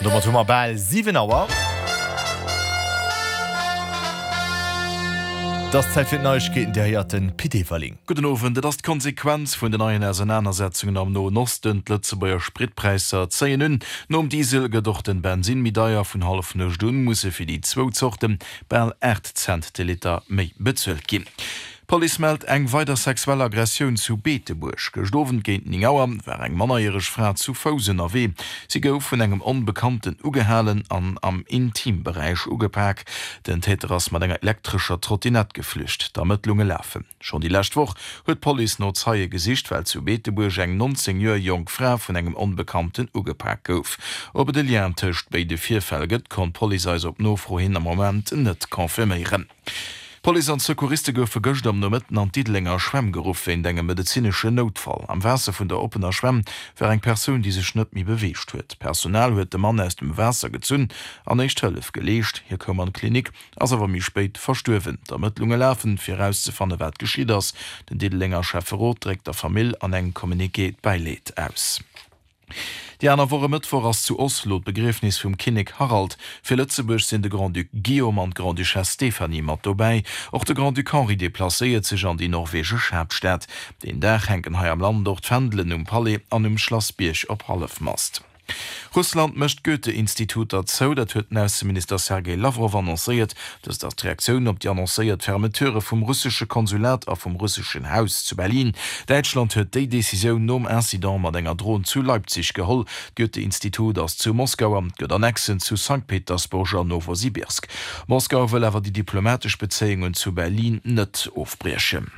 Domat hu mer bal 7 Auer. Et ass Zäit fir d'Neiegkeeten, Dir héiert de Pit Everling. Gudden Owend. Et ass d'Konsequenz vun den neien Ausernanersetzungen am Noen Osten. D'Lëtzebuerger Spritpräisser zéien un. Nom Diesel gëtt och den Bensinn méi deier. Vun Hallefnuecht un musse fir déi zwou Zorte bal 8 Cent de Liter méi bezuelt ginn. D'Police mellt eng weider sexuell Aggressioun zu Beetebuerg. Gëscht Owend géint 9 Auer war eng mannerjäreg Fra zu Fouss ënnerwee. Si gouf vun engem Onbekannten ugehalen an am Intimberäich ugepak. Den Täter ass mat enger elektrescher Trottinett geflücht. D'Ermëttlunge lafen. Schonn déi lescht Woch huet d'Police no Zeie gesicht, well zu Beetebuerg eng 19 Joer jonk Fra vun engem Onbekannten ugepak gouf. Ob et e Lien tëscht béide Virfäll gëtt, konnt d'Police eis op Nofro hin am Moment net confirméieren. D'Police an d'Secouriste goufe gëscht am Nomëtten an d'Diddelenger Schwämm geruff wéint engem medezineschen Noutfall. Am Waasser vun der oppener Schwämm war eng Persoun, déi sech net méi beweegt huet. D'Personal huet de Mann aus dem Waasser gezunn an éischt Hëllef geleescht. Hie koum an d'Klinik, ass awer méi spéit verstuerwen. D'Ermëttlunge lafen, fir erauszefanne wat geschitt ass. Den Diddelenger Schäfferot dréckt der Famill an engem Communiqué d'Bäileed aus. Déi aner Woch e Mëttwoch ass zu Oslo d'Begriefnis vum Kinnek Harald. Fir Lëtzebuerg sinn de Grand-Duc Guillaume an d'Grande-Duchesse Stéphanie mat dobäi. Och de Grand-Duc Henri deplacéiert sech an déi norwegesch Haaptstad. Deen Dag hänken hei am Land och d'Fändelen um Palais an um Schlass Bierg op Hallefmast. Russland mécht d'Goethe-Instituter zou, dat huet den Ausseminister Sergej Lawrow annoncéiert. Dëst ass d'Reaktioun op déi annoncéiert Fermeture vum russesche Konsulat a vum russeschen Haus zu Berlin. Däitschland huet déi Decisioun nom Incident mat enger Dron zu Leipzig geholl. D'Goethe-Institut ass zu Moskau an gëtt Annexen zu Sankt Petersburg an Nowosibirsk. Moskau wëll awer déi diplomatesch Bezéiungen zu Berlin net ofbriechen.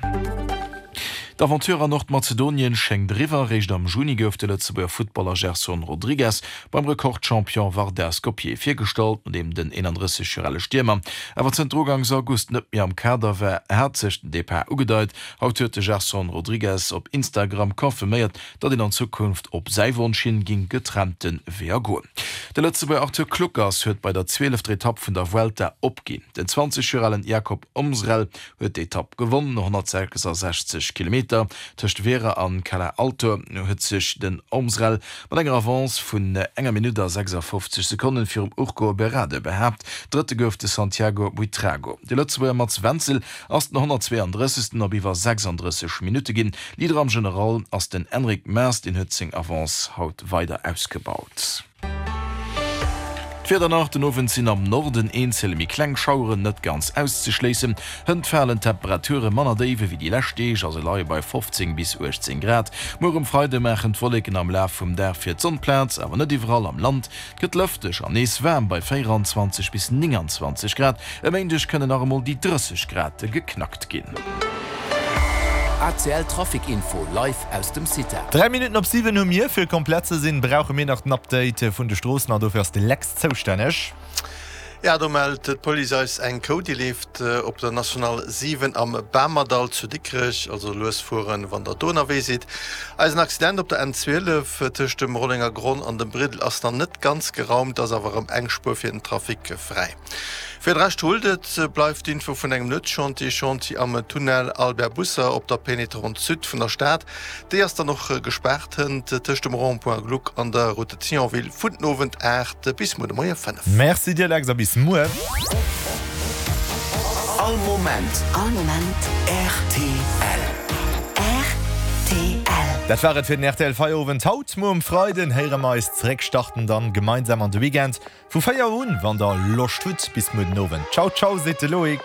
D'Aventure an Nordmazedonien schéngt eriwwer. Réischt am Juni gouf de Lëtzebuerger Futtballer Gerson Rodrigues beim Rekordchampion Vardar Skopje virgestallt. Nodeem den 31 Joer ale Stiermer awer zënter ugangs August net méi am Kader war, hat sech den Depart ugedeit. Haut huet de Gerson Rodrigues op Instagram confirméiert, datt een an Zukunft op säi Wonsch hin ging getrennte Weeër goen. De Lëtzebuerger Arthur Kluckers huet bei der zwielefter Etapp vun der Vuelta opginn. Den 20 Joer alen Jakob Omsrel huet d'Etapp gewonn. No 166 Kilometer tëscht Vera an Cala Alto huet sech den Omsrel mat enger Avance vun enger Minutt a 56 Sekonnen virum Urko Berrade behaapt. Drëtte gouf de Santiago Buitrago. De Lëtzebuerger Mats Wenzel ass den 132. op iwwer 36 Minutte ginn. Leader am General ass den Enric Mas, deen huet seng Avance haut weider ausgebaut. D'Wieder nach, Den Owend sinn am Norden eenzel méi kleng Schaueren net ganz auszeschléissen. Hënt falen d'Temperature manner déif ewéi déi lescht Deeg a se leie bei 15 bis 18 Grad. Muer um Freide maachen d'Wolleken am Laf vum Dag fir d'Sonn Plaz, awer net iwwerall am Land. Et gëtt lëfteg an nees waarm bei 24 bis 29 Grad. E Méindeg kënnen nach emol déi 30 Grad geknackt ginn. ACL Trafic Info live aus dem CITA. 3 Minutten op 7 hu mir. Fir komplett ze sinn, brauche mir nach den Update vun de Stroossen an dofir ass de Lex zoustänneg. Ja, do mellt d'Police eis eng Kou, déi leeft op der National 7 am Bamerdall zu Dikrech. Also lues fueren, wann der do ënnerwee sidd. Eisen Accident op der N 12 tëscht dem Rollenger Gronn an dem Briddel ass nach net ganz geraumt, ass awer erëm eng Spuer fir den Trafic fräi. Fir de Rescht rullt et, bleift d'Info vun engem Nuetschantier, Chantier am Tunnel Albert Busser op der Pénétrante Sud vun der Stad. Déi ass dann och gespaart hënt tëscht dem Rond-point Gluck an der Route de Thionville vun den Owend 8 bis muer de Moie 5. Merci dir Lex a bis muer. All Moment. All Moment. Rtl. Rtl. Dat war et fir den rtl Feierowend haut. Muer um Freiden héiere mer eis zeréck, starten dann gemeinsam an de Weekend. Vu 4 un, wann der Loscht hutt. Bis muer den Owend. Ciao ciao, seet de Loïc.